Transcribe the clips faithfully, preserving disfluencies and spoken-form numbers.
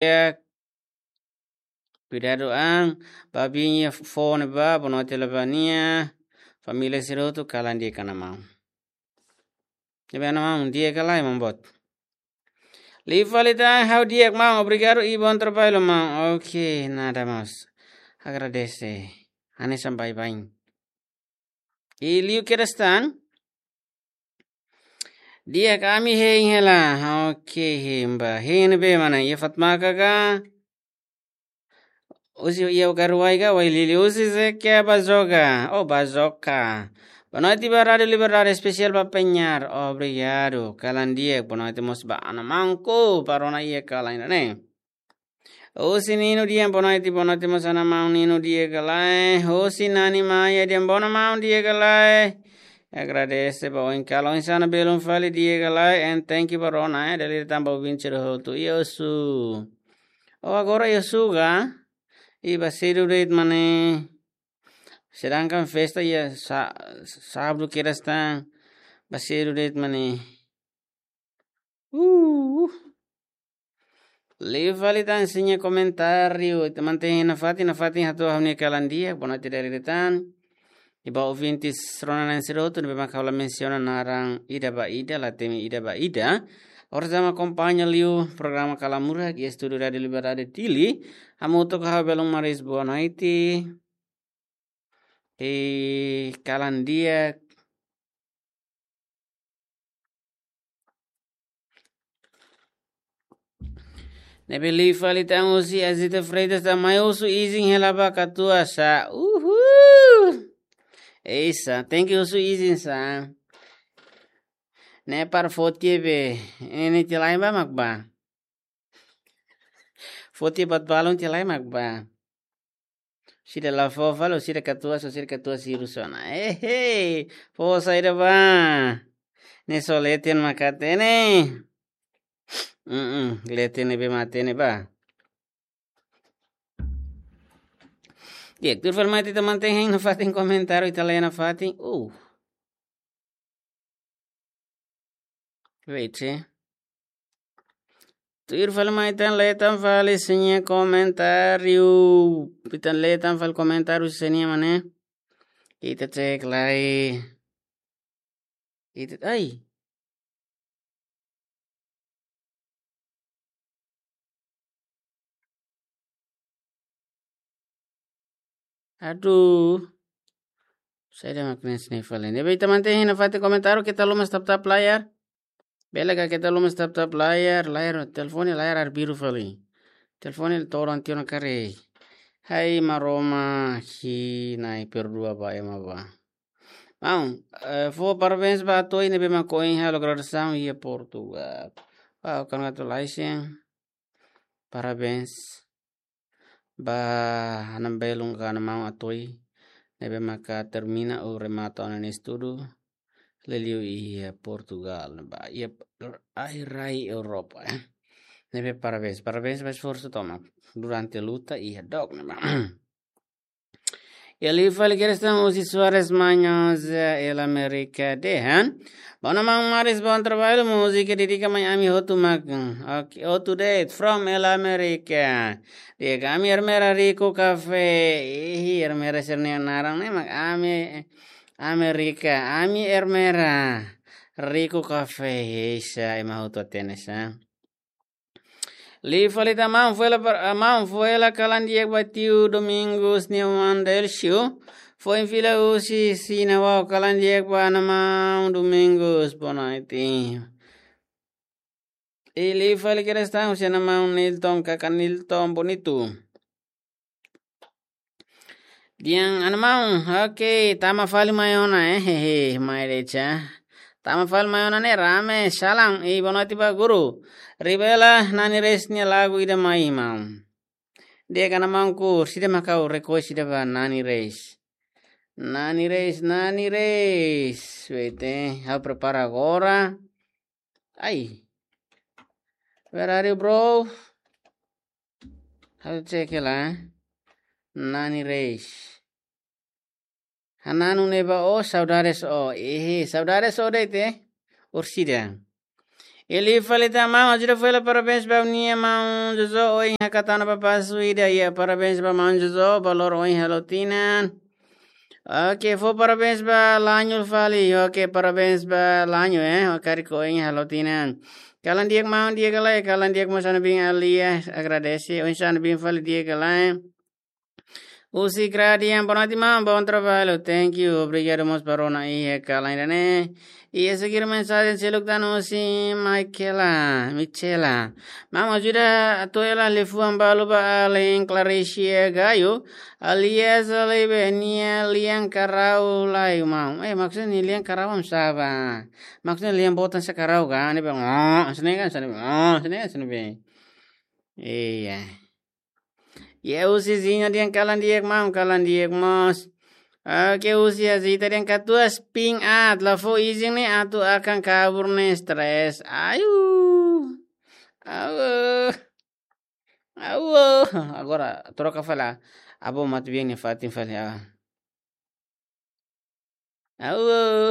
di'ak. Kuidadu an, ba biin iha foho ne'ebá, bonoite hela ba nia família sira hotu, kalan di'ak ona maun. Ne'ebé ona maun, di'ak ka lae, maun boot? Liu fali tan, ha'u di'ak maun, obrigadu i bom trabalho maun. Oke, nada maun. Agradese. Hanesan baibain. I liu kedas tan. Di'ak, ami hein hela. Oke, hein ba. Hein ne'ebé mak ne'e? Iha Fatmaka ka? Husi iha Ugaruai ka, Uailili? Husi Zekia Bazoga. Oh, Bazoka. Bonoite ba Rádio Liberdade, espesiál ba penyiar. Obrigadu. Kalan di'ak, bonoite mós ba Ana Mangku, ba rona iha kalan ne'e. Husi Nino Dian, bonoite, bonoite mós Ana Maun Nino, di'ak ka lae? Husi Nani Maia Dian, bonoite maun, di'ak ka lae? Agradese ba oin kalan, oinsá ona, belun fali, di'ak ka lae? And thank you ba rona, eh, dala ida tan ba ouvinte sira hotu. I osu. Oh, agora i osu ka? I ba sedu de'it mak ne'e. Sedangkan festa iha sa-, sábadu kedas tan. Ba sedu de'it mak ne'e. Uh. Liu fali tan, sei nia komentáriu. Ita mantein nafatin, nafatin hato'o ha'u-nia kalan di'ak, bonoite dala ida tan. I ba ouvintes rona-na'in sira hotu, ne'ebé mak ha'u la mensiona naran ida ba ida, la temi ida ba ida. Orsida mak akompaña liu programa Kalan Murak, iha estúdiu Rádio Liberdade Dili. Hamutuk ho ha'u, belun Maris, boa noite. I kalan di'ak. Ne'ebé liu fali tan husi Azita Freitas tan, mai husu izin hela ba katuas sá. Uhul! Eisa, tenke husu izin sá. Ne'e para foti be, ne'e tiha lai ba mak ba. Foti buat balun tiha lai mak ba. Sira la fó fali, sira katuas, sira katuas sira husu ona. Ehe, fó saida ba. Ne'e só leten mak hatene. Mm-mm, leten ne'ebé mak hatene ba. Di'ak, tuir fali mai ita mantein hein nafatin komentáriu, ita lee nafatin. Uh. Wait, eh. Tuir fali mai ita lee tan fali sira-nia komentáriu. Ita lee tan fali komentáriu sira-nia mak ne'e. Ita cek lai. Ita, ai. Aduh. Saida mak ne'e sini fali. Ne'ebé ita mantein hein nafatin komentáriu, keta haluha tap-tap layar. Bele ka keta haluha tap-tap layar, layar, telefone layar arbiru fali. Telefone todan tiha ona karik. Hai Maromak, hi Na'i perdua ba ema ba. Maun, eh, fó parabéns ba Atoi ne'ebé mak ohin halo graduasaun iha Portugal. Wow, congratulations. Parabéns ba Ana Belun ka Ana Maun Atoi, ne'ebé maka termina ou remata ona nia estudu, liuliu iha Portugal, ba, iha rai-rai Europa, eh. Ne'ebé parabéns, parabéns ba esforsu tomak durante luta iha dook ne'ebá. I liu fali kedas tan husi Soares Manhosa, El América dehan. Bonoite maun Maris, bom trabalho, múzika dedika mai ami hotu mak. Ok, hotu de'it, from El América. Di'ak, ami Ermera Rico Café. Ih, Ermera sira-nia naran ne'e mak ami América, ami Ermera Rico Café. Eisa, ema hotu hatene sá. Liu fali tan, maun, fó hela par-, ah, maun, fó hela kalan di'ak ba tiu Domingos nia oan Delcio. Foin fila husi Xina, wow, kalan di'ak ba Ana Maun Domingos, bonoite. I liu fali kedas tan husi Ana Maun Nilton, kaka Nilton Bonito. Di'ak, Ana Maun, ok, tama fali mai ona, eh, hehe, mai de'it sá. Tama fali mai ona ne'e rame, salam, i bonoite ba guru. Rivela, Nani Reis nia lagu ida mai, maun. Di'ak, Ana Maun, ku, saida mak ha'u request ida ba Nani Reis. Nani Reis, Nani Reis. Wait, eh, ha'u prepara agora. Ai. Where are you, bro? Ha'u cek hela. Nani Reis. Hananu ne'ebá ó, saudades ó. Ehe, saudades ó de'it, eh. Orsida. Iha liu fali tan, maun, ajuda fali, parabéns ba nia maun Jojo, ohin hakatana ba pasu ida, iha parabéns ba maun Jojo, ba loron ohin halo tinan. Oke, fó parabéns ba Lanho fali, oke, parabéns ba Lanho, eh, karik ohin halo tinan. Kalan di'ak maun, di'ak ka lae, kalan di'ak maun, hanesan ne'ebé alia, agradese, ohin hanesan ne'ebé fali, di'ak ka lae. Husi Gradian, boa noite, maun. Bom trabalho. Thank you. Obrigadu mós ba rona iha kalan ida-ne'e. Iha seguir mensajen seluk tan husi Michaela, Michela. Maun, ajuda atu hela liafuan balu ba alin Claricia Gayo. Alias alin be nia lian karau lai, maun. Eh, maksudnya nia lian karau hanesan sá? Maksudnya lian boot hanesan karau ka? Ne'ebé, oh, hanesan ne'e ka, hanesan ne'e, oh, hanesan ne'e ka, hanesan ne'ebé. Iya. Iha husi Zinho dehan kalan di'ak maun, kalan di'ak mós. Oke, husi Azita dehan katuas ping at, la fó izin ne'e atu akan kabur ne'e stress. Ayu. Awo. Awo. Agora troka fali. Abo matu bien ni fatin fali. Ah. Awo.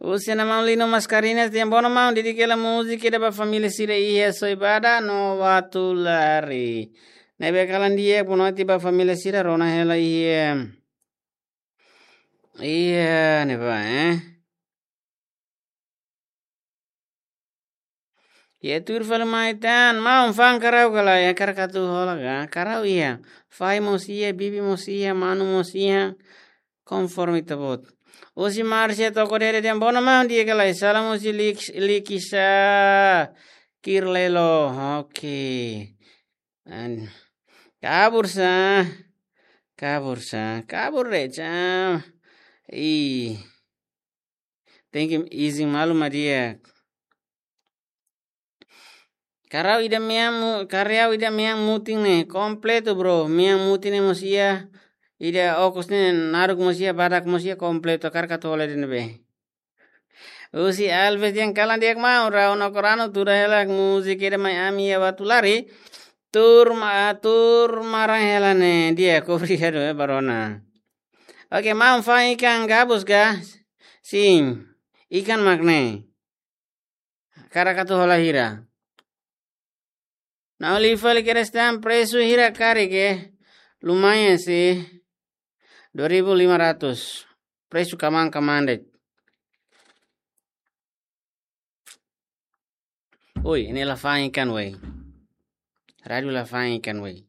Husi maun Lino Mascarenhas dehan bono maun, dedika hela múzika ida ba família sira iha Soibada no Watulari. Ne'ebé kalan di'ak, boa noite ba família sira, rona hela iha. Iha ne'ebá, eh. Iha tuir fali mai tan, maun, fa'an karau ka lae, hakarak atu hola ka? Karau iha. Fahi mós iha, bibi mós iha, manu mós iha. Konforme ita-boot. Husi Márcia Toko Dede dehan bono maun, di'ak ka lae, salam husi Lik-, Likisa Kirlelo. Oke. An-, kabur sá. Kabur sá. Kabur de'it sá. Ih. Tenke izin malu mak di'ak. Karau ida mean mu-, karau ida mean mutin ne'e, kompletu, bro. Mean mutin ne'e mós iha, ida okos ne'e naruk mós iha, badak mós iha, kompletu, hakarak atu hola ida ne'ebé. Husi Alves dehan kalan di'ak maun, rau no koranu, tuda hela múzika ida mai ami iha Watulari. Tuur ma-, tuur maran hela ne'e, di'ak, obrigadu, eh, ba rona. Oke, maun, fa'an ikan gabus ka? Sin, ikan mak ne'e. Hakarak atu hola hira? Na'in-rua fali kedas tan, presu hira karik, eh? Lumayan sih. Dua ribu lima ratus. Presu kaman-kaman de'it. Oi, ne'e la fa'an ikan wei. Rádiu la fa'an ikan wei.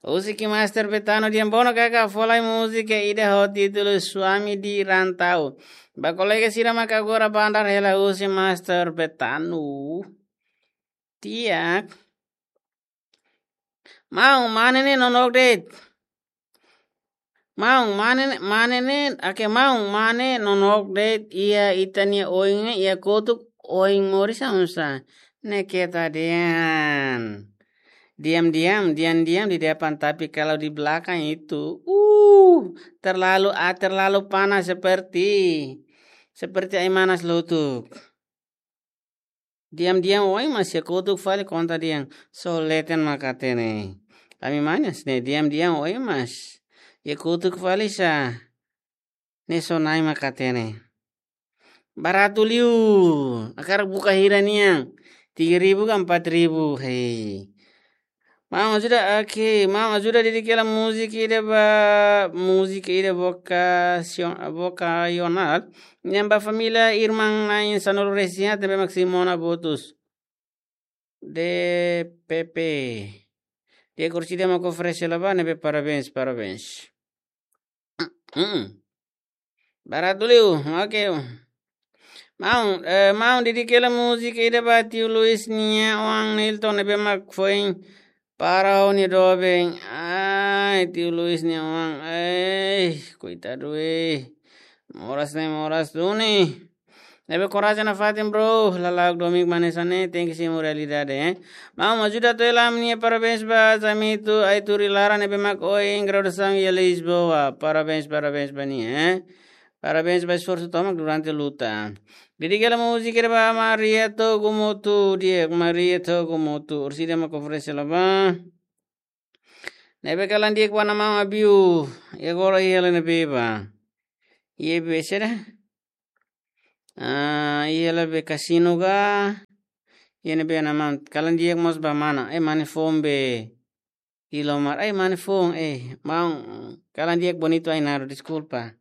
Husi Master Betano dehan bono kaka, fó lai múzika ida ho títulu Suami di Rantau. Ba kolega sira mak agora bandar hela husi Master Betano. Di'ak. Maun, mane ne'e nonook de'it. Maun, mane ne'e, mane ne'e, oke, maun, mane nonook de'it, iha ita-nia oin ne'e, iha kotuk oin moris hanesan sá. Ne'e keta dehan. Diam-diam, diam-diam di depan, tapi kalau di belakang itu, uh, terlalu, ah, terlalu panas seperti, seperti air manas lotuk. Diam-diam oin mós iha kotuk fali konta dehan, só leten mak hatene. Ami manas ne'e, diam-diam oin mós iha kotuk fali sá. Ne'e só na'in mak hatene. Baratu liu. Hakarak buka hira nian. Tiga ribu ka empat ribu. Hei. Maun ajuda, oke. Maun ajuda dedika hela múzika ida ba, múzika ida vokasion-, vokasionál. Ne'e ba família irmán na'in sanulu-resin-haat ne'ebé mak Simona Botus. D P P. Di'ak, orsida mak oferese hela ba ne'ebé, parabéns, parabéns. Hmm. Baratu liu, oke. Maun, eh, maun dedika hela múzika ida ba tiu Luis nia oan Nilton ne'ebé mak foin para ho nia doben. Ai, tiu Luis nia oan. Ai, koitadu, eh. Moras ne'e, moras duni. Ne'ebé korajen nafatin, bro. Lala'ok domin mak hanesan ne'e, tenke simu realidade, eh. Maun ajuda atu hela ami-nia parabéns ba Zamito Aituri Lara ne'ebé mak ohin graduasaun iha Lisboa. Parabéns, parabéns ba nia, eh. Parabéns ba esforsu tomak durante luta. Dedika hela múzika ida ba Maria Togumotu, di'ak, Maria Togumotu. Orsida mak oferese hela ba. Ne'ebé kalan di'ak ba maun Abiu. Iha agora iha hela ne'ebé ba. Iha be seda. Ah, iha la be kasinu ga. Iha ne'ebé ana maun, kalan di'ak mós ba mana. Eh, mane foun be. Ilomar, eh, mane foun, eh, maun, kalan di'ak bonitu ai naru, deskulpa.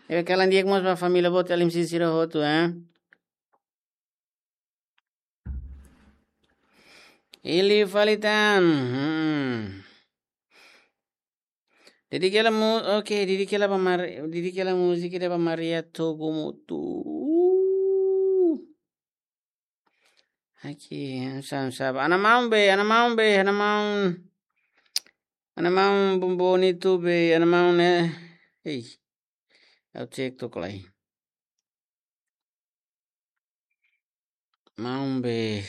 Eh, kalan di'ak mós ba família boot L M C sira hotu, eh. Ili fali tan. Hmm. Dedika hela mu-, oke, dedika hela ba Mar-, dedika hela múzika ida ba Maria Togo Mutu. Aqui, sabe, sabe. Ana maun be, ana maun be, ana maun. Ana maun bom bonitu be, ana maun ne'e. Ei. Ha'u cek tok lai. Maun be.